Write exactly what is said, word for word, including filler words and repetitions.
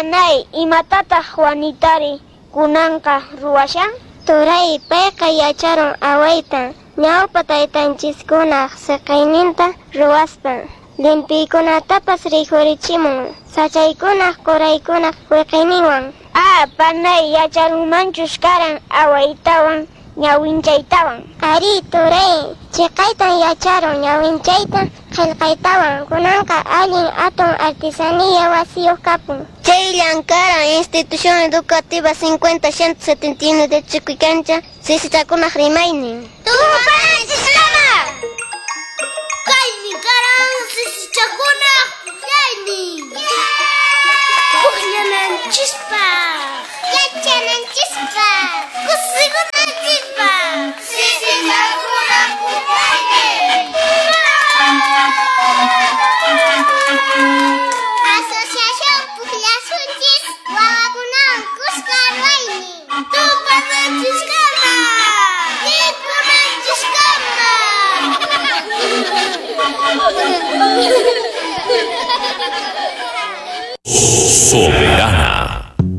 Panay, imatataq Juanitari kunanqa ruwashan? Turay, payqa yacharun awayta, ñawpa taytanchiskunaq siqayninta ruwaspa. Llimpiykunatapas rikhurichimun, sachaykunaq quraykunaq wiqiyninwan. Ah, panay, yacharunmanchus karan awaytawan ñawinchaytawan. Arí, turay, chiqaytan yacharun ñawinchayta qillqaytawan, kunanqa allin hatun artesanía wasiyuq kapun. Chayllan karan Institución Educativa cincuenta ciento setenta y uno de Chuquicancha, sisichakunaq rimaynin. Tupananchiskama! Kaymi karan sisichakunaq pukllaynin. Pukllananchispaq, Yachananchispaq, kusikunanchispaq, sisichakunaq pukllaynin. Asociación Pukllasunchis wawakunawan kuska ruwaynin. Tupananchiskama! Rikunanchiskama! Soberana.